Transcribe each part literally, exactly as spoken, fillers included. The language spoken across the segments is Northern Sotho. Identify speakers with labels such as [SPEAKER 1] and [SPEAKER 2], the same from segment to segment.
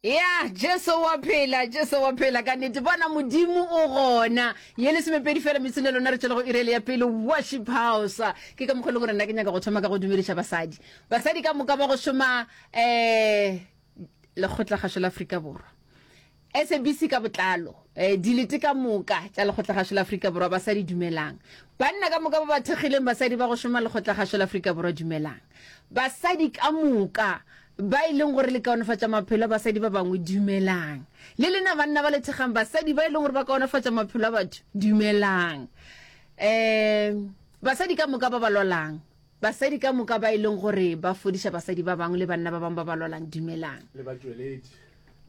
[SPEAKER 1] Ya, Jesu wa phela, Jesu wa phela ka nnete. Bona Modimo o gona. Ye lesomepedi fela metsotso le lona re tšwela go iri ele ya pele Worship House. Ke ka mokgwa e leng gore nna ke nyaka go thoma ka go dumediša basadi. Basadi ka moka ba go šoma eh Lekgotlakgašo la Afrika Borwa. SABC ka botlalo, eh dilete ka moka tša Lekgotlakgašo la Afrika Borwa basadi dumelang. Banna ka moka ba ba thekgileng basadi ba go šoma Lekgotlakgašo la Afrika Borwa dumelang. Basadi ka moka Ba e leng gore le kaonefatša maphelo a basadi ba bangwe, dumelang. Le lena banna ba le thekgang basadi ba e leng gore ba kaonefatša maphelo a batho, dumelang. Um, basadi ka moka ba ba lwalang, basadi ka moka ba e leng gore ba fodiša basadi ba bangwe le banna ba bangwe ba ba lwalang, dumelang.
[SPEAKER 2] Le batšweletši.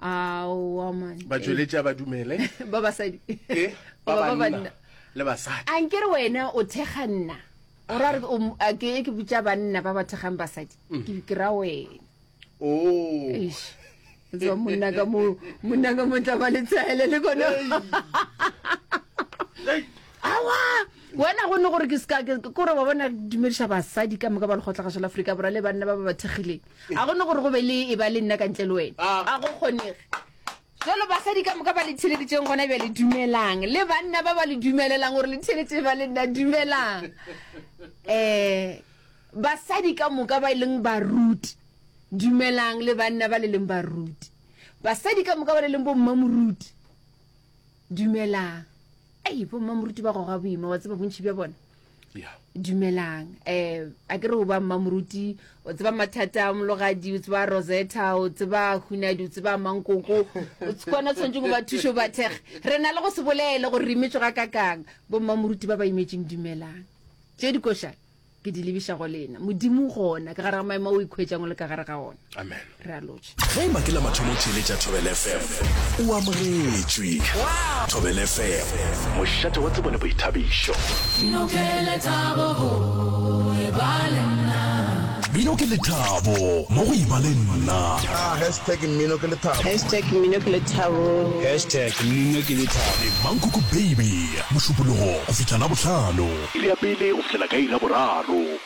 [SPEAKER 1] Aowa man.
[SPEAKER 2] Batšweletši a ba dumele.
[SPEAKER 1] Ba basadi.
[SPEAKER 2] E, ba banna le basadi.
[SPEAKER 1] A nkere wena o thekga nna. O ra re o a ke ke botša banna ba ba thekgang basadi. Mm. Ke ke ra wena.
[SPEAKER 2] Oh.
[SPEAKER 1] Eish. Tswa monna ka mo monna ka mo tla ba le tshele le kone. Awa wena go ne gore ke ska ke gore ba bona dumediša basadi ka moka ba lekgotlagašo la Afrika Borwa le banna ba ba ba thekgileng. A go ne gore go be le e ba le nna ka ntle le wena.
[SPEAKER 2] Ah.
[SPEAKER 1] A go kgonege. Jalo basadi ka moka ba le theeleditšeng gona bjale, dumelang. Le banna ba ba le dumelelang gore le theeletše ba le nna, dumelang. Um basadi ka moka ba e leng baruti, dumelang. Le banna ba le leng baruti. Basadi ka moka ba le leng bommamoruti, dumelang. Ei, bommamoruti ba goga boima, wa tseba bontši bja bona.
[SPEAKER 2] Yeah.
[SPEAKER 1] Dumelang. Eh, a ke re o ba mmamoruti, o tseba mathata a Mologadi, o tseba Rosetta, o tseba Hunadi, o tseba Mankoko, o kwana tshwanetse go ba thuše o ba thekge. Re na le go se bolele gore re imetšwe ga kakang. Bo mmamoruti ba ba imetšeng dumelang. Tše dikoša ke di lebiša go lena. Modimo gona ka gare ga maemo a o ikhwetšang o le ka gare ga ona.
[SPEAKER 2] Amen.
[SPEAKER 1] Re a lotšha.
[SPEAKER 3] Ge eba ke la mathomo o theeletša Thobela F M, o amogetšwe. Thobela F M, mošate wa tsebo le boithabišo.
[SPEAKER 4] Mmino ke lethabo go eba le nna.
[SPEAKER 3] Mmino ke lethabo mo go eba le nna.
[SPEAKER 5] Hashtag mmino ke lethabo.
[SPEAKER 6] Hashtag mmino ke lethabo.
[SPEAKER 7] Hashtag mmino ke lethabo.
[SPEAKER 3] Le Mankoko Baby, Mošupologo go fihla Labohlano.
[SPEAKER 8] Iri ya pele go fihlela ka iri ya boraro.